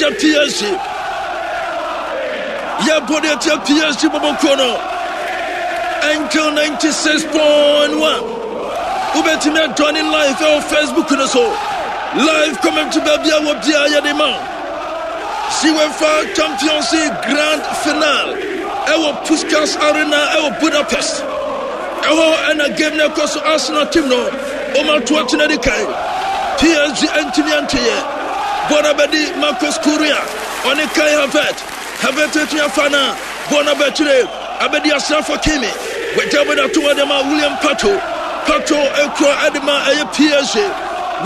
Tia PSG. Yɛbɔ de atia PSG bɔbɔkuo no. Angel 96.1. Wobɛtumi adwane live ɛwɔ Facebook no so. Live comment baabi a wɔ biara yɛde ma wo. UEFA Champions League Grand Final ɛwɔ Puskas Arena ɛwɔ Budapest. Ɛhɔ ɛna game no ɛkɔ so Arsenal team no wɔn ato atena di kan. PSG antumi anteyɛ. Bɔ no abɛdi Marcos Correa ɔne Kai Havertz. Havertz atumi afa no a bɔ no abɛkyerɛ abɛdi Asrafo Kimi. Wagya bɔ no ato hɔ de ma William Pacho. Pacho ekura ɛde ma ɛyɛ PSG.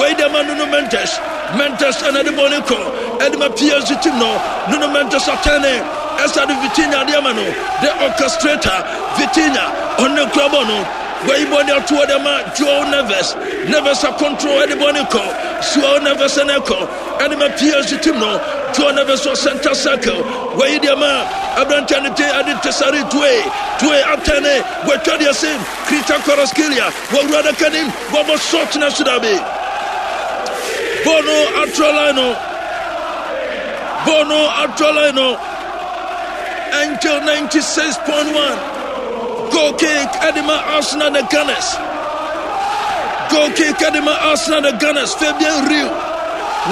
Wei de ma Nuno Mendes. Mendes ɛna de bɔ no kɔ ɛde ma PSG team no. Nuno Mendes atɛne ɛsa de Vitinha de ama no. The orchestrator Vitinha ɔne kura bɔ no. Wei bɔ no ato hɔ de ma Joao Neves. Neves akontrol ɛde bɔ ne kɔ. Joao Neves ɛna ɛkɔ ɛde ma PSG team no. Joao Neves wɔ center circle. Wei deɛ ma aberanteɛ no de ɛde Desiree Doué. Doué atɛne wɔatwa deɛ se Christian Kvaratskhelia wɔawura adaka nim wɔbɔ shot na so dabi. Bɔɔl no atrɔ line no. Bɔɔl no atrɔ line no. Angel 96.1. Goal kick ɛde ma Arsenal the Gunners. Goal kick ɛde ma Arsenal the Gunners. Fabian Riu.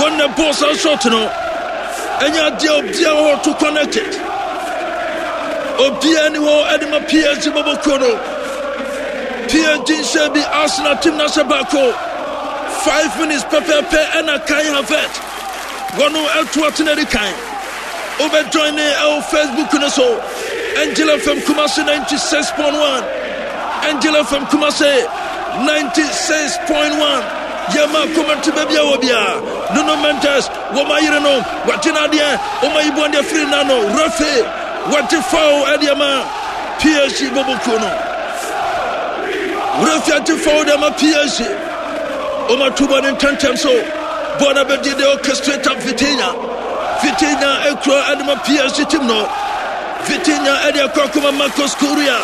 Wɔn na bɔɔl san shot no. Ɛnyɛ adeɛ obiara hɔ to connect it. Obiara ni hɔ ɛde ma PSG bɔbɔ kuo no. PSG nhyɛ bi Arsenal team na hyɛ baako. 5 minutes pɛpɛɛpɛ ɛna Kai Havertz. Wɔn ɛto atena di kan. Wobɛ join ne ɛwɔ Facebook no so. Angel FM Kumasi 96.1. Angel FM Kumasi 96.1. Yɛma comment baabi a wɔ biara. Nuno Mendes, wɔn ayere no, wɔagye no adeɛ, wɔn ayi bɔn deɛ firi n'ano. Refe, wɔagye foul ɛde ama PSG bɔbɔ kuo no. Refe agye foul de ama PSG. Wɔn ato bɔ ne ntɛntɛm so. Bɔɔl no abɛdi the orchestrator Vitinha. Vitinha ekura ɛde ma PSG team no. Vitinha ɛde akɔ akɔma Marcos Correa.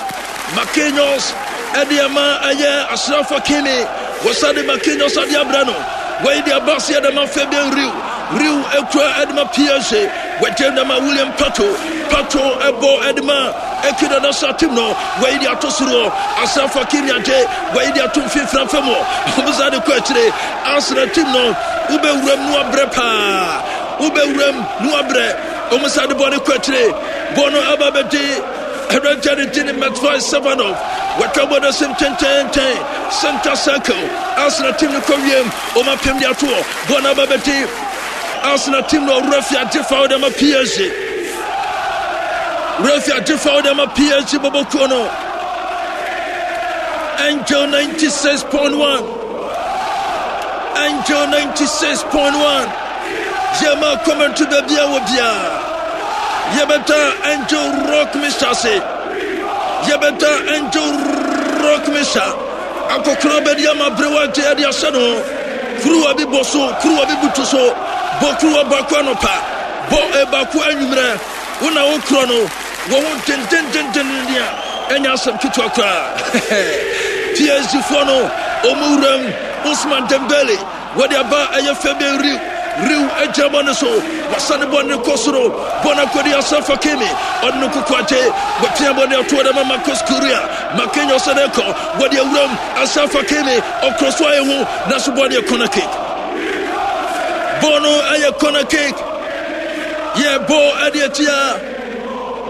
Marquinhos ɛde ama ɛyɛ Ashraf Hakimi. Wɔsa de Marquinhos ade abrɛ no. Wɔyi de aba ase ɛde ma Fabian Riu. Riu ekura ɛde ma PSG. Wɔgye de ma William Pacho. Pacho ɛbɔ ɛde ma Ekida na sa team no. Wɔyi de ato soro. Ashraf Hakimi agye. Wɔyi de ato mfimfini afam hɔ. Wɔsa de kɔ akyire. Arsenal team no wobɛwuram no abrɛ paa. Wobɛwuram no abrɛ. Wɔn sa de bɔ ne kɔ akyire. Bɔ no aba bɛgye aberanteɛ no gye ne Matvei Safonov. Wɔatwa bɔ no asim tententen. Center circle. Arsenal team no kɔ wiem. Wɔn apem de ato hɔ. Bɔ no aba bɛgye Arsenal team no ɔwura fi agye foul de ama PSG. Wura fi agye foul de ama PSG bɔbɔ kuo no. Angel 96.1. Angel 96.1. Yɛma kɔmɛnto baabi a wɔ biara. Yɛbɛda Angel Rock Mixture ase. Yɛbɛda Angel Rock Mixture. Akɔkora bɛdi ama berewa gye ɛde ahyɛ no. Kuruwa bi bɔ so, kuruwa bi butu so. Bɔ kuruwa baako anɔpa, bɔ baako anwummerɛ. Wo na wokorɔ no, wɔ ho dendendenden a ɛnyɛ asɛm ketewa koraa. PSG foɔ no, wɔn wuram Ousmane Dembele wɔde aba ɛyɛ Fabian Riu. Riu agyina bɔ ne so, wasa ne bɔ ne kɔ soro, bɔ no akɔdi Ashraf Hakimi, ɔde no koko agye, wapia bɔ ne atoɔ dɛ ma Marcos Correa, Marquinhos ne kɔ, wɔde awuram Ashraf Hakimi, ɔkorɔ so ayɛ ho, nanso bɔ deɛ corner kick. Bɔ no ɛyɛ corner kick. Yɛ bɔ ɛde atia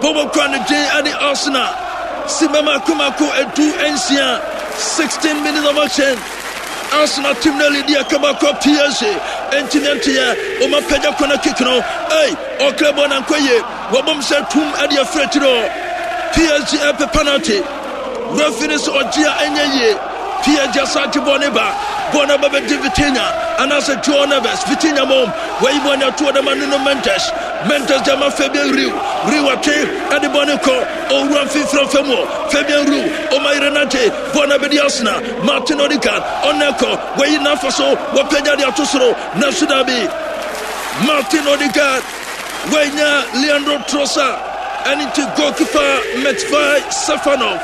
bɔbɔ kura ne den ɛde Arsenal. Simba mako mako 16, 16 minutes of action. Arsenal team no lead yɛ kaba kɔ PSG. Ntumi nteɛ wɔn apagya corner kick no. Ei, ɔkra bɔ na nkɔ yie. Wɔbom sɛ tum ɛde afiri akyire hɔ. PSG ɛpɛ penalty. Referee no sɛ ɔgye a ɛnyɛ yie. PSG asa agye bɔɔl ne ba. Bɔɔl no aba bɛdi Vitinha anaasɛ Joao Neves. Vitinha mom wɔyi bɔɔl no atoɔ dɛma Nuno Mendes. Mendes de ama Fabian Riu. Riu atwe ɛde bɔɔl no kɔ owura mfimfini afa mu. Fabian Riu ɔma yere no agye bɔɔl no abɛdi Arsenal. Martin Odegaard ɔno ɛkɔ wɔyi n'afa so wɔpagya de ato soro nanso dabi. Martin Odegaard wɔanya Leandro Trossard ɛne nti goalkeeper Matvei Safonov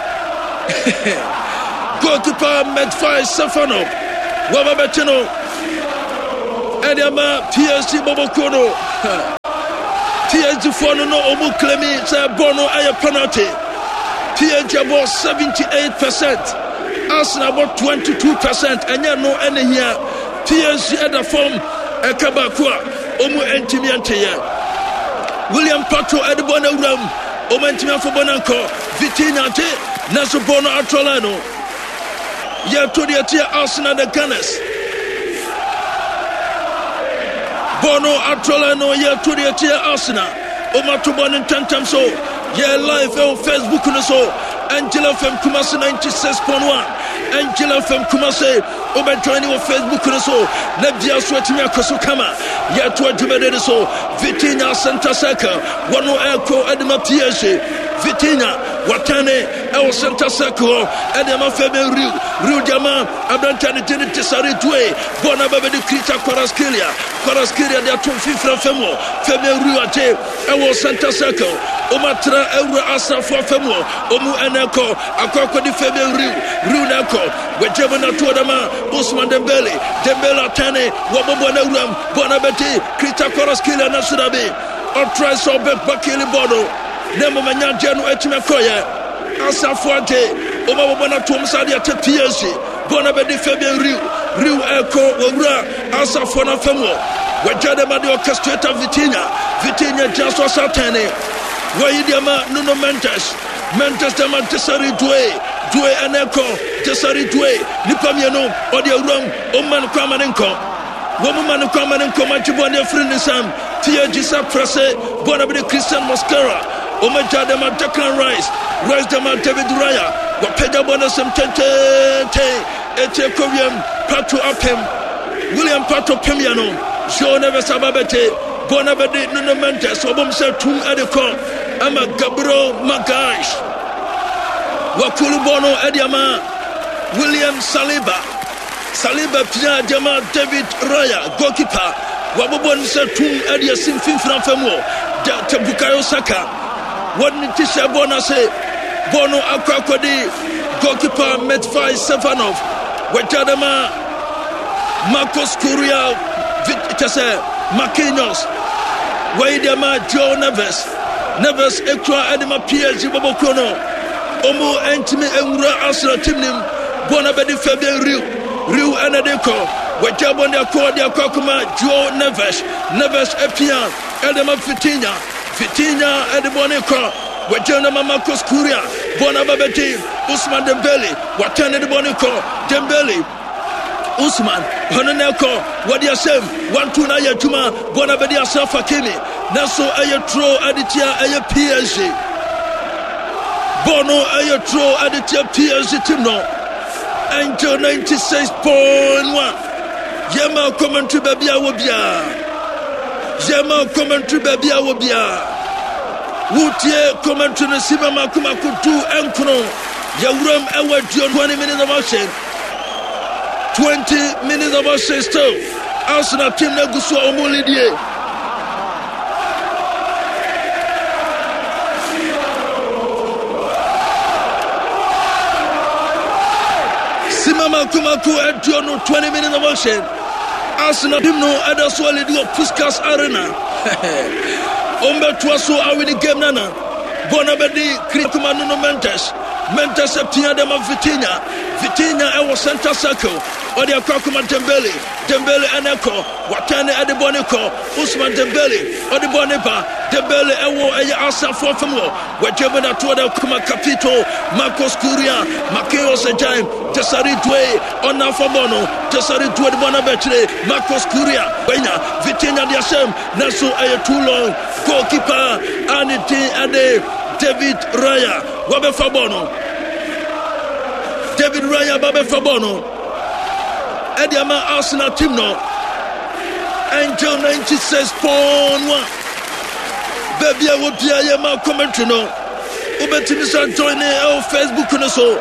goalkeeper Matvei Safonov wɔba bɛkye no ɛde ama PSG bɔbɔkuo no. PSG foɔ no no ɔmo claimi sɛ bɔɔl no ɛyɛ penalty. PSG abɔ 78 percent, Arsenal abɔ 22 percent. Ɛnyɛ no ɛna hia. PSG ɛda fam ɛka baako a ɔmo ɛntumi ɛnteyɛ. William Pacho ɛde bɔɔl no awura mu, ɔmo ɛntumi afɔ bɔɔl no ankɔ. Vitinha gye nanso bɔɔl no atrɔ line no. Yɛto deɛ ɛteɛ Arsenal the Gunners. Bɔɔl no atrɔ line no yɛto deɛ ɛteɛ Arsenal. Ɔmo ato bɔɔl no ntɛntɛm so. Yɛ live ɛwɔ Facebook no so. Angela FM Kumasi 96.1. Angela FM Kumasi. Wobɛjoin wɔ Facebook no so. Na bia so atumi akɔ so kama. Yɛto adwumadi no so. Vitinha center circle. Wɔno ɛkɔ ɛde ma PSG. Vitinha watɛne ɛwɔ center circle hɔ ɛde ama Fabian Riu. Riu de ama aberanteɛ ne din Desare Due. Bɔɔl no aba bɛdi Krita Kvaratskhelia. Kvaratskhelia de ato mfimfini fam hɔ. Fabian Riu agye ɛwɔ center circle. Wɔn atra awura asrafoɔ fam hɔ. Wɔn ɛna ɛkɔ akɔ akɔdi Fabian Riu. Riu na ɛkɔ. Wɔagye mu na to ɔde ma Ousmane Dembele. Dembele atɛne wɔbɔ bɔɔl no awuram. Bɔɔl no abɛdi Krita Kvaratskhelia na so dabi. Ɔtrae sɛ ɔbɛba kili bɔɔl no. Na mmom ɛnyɛ adeɛ no atumi akɔyɛ. Asafo agye wɔn a wɔbɔ no atom sɛ adeɛ te PSG. Bɔɔl no abɛdi Fabian Riu. Riu ɛkɔ wɔwura Asafoɔ no afam hɔ. Wɔagya de ma de orchestrator Vitinha. Vitinha gyina so asa atɛne. Wɔyi de ama Nuno Mendes. Mendes de ama Desiree Doué. Doué ɛna ɛkɔ. Desiree Doué. Nipa mmienu ɔde awuram. Ɔmma no kwan ma ne nkɔ. Wɔn ma no kwan ma ne nkɔ ma gye bɔne ne afiri ne nsam. TAG sɛ prɛse bɔne bɛde Christian Mosquera. Wɔn agya de ma Declan Rice. Rice de ma David Raya. Wɔpagya bɔne sɛm tententen. Etie kɔ wiem. Pato apem. William Pato pem yɛ no. João Neves aba bɛgye. Bɔne bɛde Nuno Mendes. Wɔbom sɛ tum de kɔ ama Gabriel Magalhaes. Wakuru bɔɔl no de ama William Saliba. Saliba pia de ama David Raya, goalkeeper. Wabobɔ ne sɛ tum de asi mfimfini afa mu hɔ. De Bukayo Saka. Wɔde ne ti hyɛ bɔɔl no ase. Bɔɔl no akɔ akɔdi goalkeeper Matvei Safonov. Wagya de ma Marcos Correa, kyɛ sɛ Marquinhos. Wɔyi de ma João Neves. Neves ekura de ma PSG bɔbɔ kuro no. Ɔmo ntumi nwura Arsenal team nim. Bɔɔl no abɛdi Fabian Riu. Riu ɛna de kɔ. Wagya bɔɔl de akɔ de akɔ akɔma João Neves. Neves apia ɛde ma Vitinha. Vitinha ɛde bɔɔl no kɔ. Wagya no ma Marcos Correa. Bɔɔl no aba bɛdi Ousmane Dembele. Watɛn ne de bɔɔl no kɔ. Dembele. Usman ɔno na ɛkɔ wɔde ahyɛm wanto no ayɛ adwuma bɔ no abɛde Ashraf Hakimi nanso ɛyɛ turo ɛde tia ɛyɛ PSG bɔɔl no ɛyɛ turo ɛde tia PSG team no. Angel 96.1 yɛma commentary baabi a wɔ biara, yɛma commentary baabi a wɔ biara, wotie commentary no si ma mako mako du nkono yɛwuram ɛwɔ aduonu 20 minutes of action, 20 minutes of action still Arsenal team no agu so a wɔn lidie. Sima mako mako aduonu 20 minutes of action Arsenal team no ɛda so alidi wɔ Puskas Arena. Wɔn bɛtoa so awini game nana bɔɔl no bɛdi Kirikuma Nuno Mendes. Mendes apia de ma Vitinha. Vitinha ɛwɔ center circle. Ɔde akɔ akɔma Dembele. Dembele ɛna ɛkɔ. Watɛn ne ɛde bɔ ne kɔ. Ousmane Dembele ɔde bɔ ne ba. Dembele ɛwɔ ɛyɛ Arsenalfoɔ fam hɔ. Wagye mu na toɔ de akɔma Capito. Marcos Correa. Marquinhos agyan. Desiree Doué ɔna afa bɔ no. Desiree Doué de bɔ no abɛkyere. Marcos Correa wanya. Vitinha de ahyɛm. Nanso ɛyɛ too long. Goalkeeper a ne din ɛde David Raya wabɛfa bɔɔl no. David Raya ba bɛfa bɔɔl no ɛde ama Arsenal team no. Angel 96.1 baabi a wɔbia yɛ ma commentary no wobɛtumi sɛ join ne ɛwɔ Facebook no so.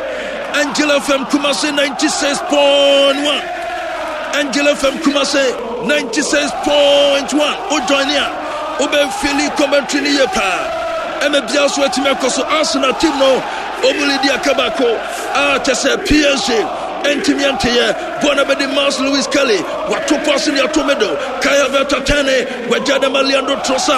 Angel FM Kumasi 96.1, Angel FM Kumasi 96.1. Wo join a wobɛfili commentary no yie paa ɛma biara so atumi akɔ so. Arsenal team no ɔmu lidi aka baako a kyɛ sɛ PSG ɛntumi anteyɛ. Bɔɔl no bɛdi Miles Lewis Kelly wato pass ne ato middle. Kai Havertz atɛne wagya dama Leandro Trossard.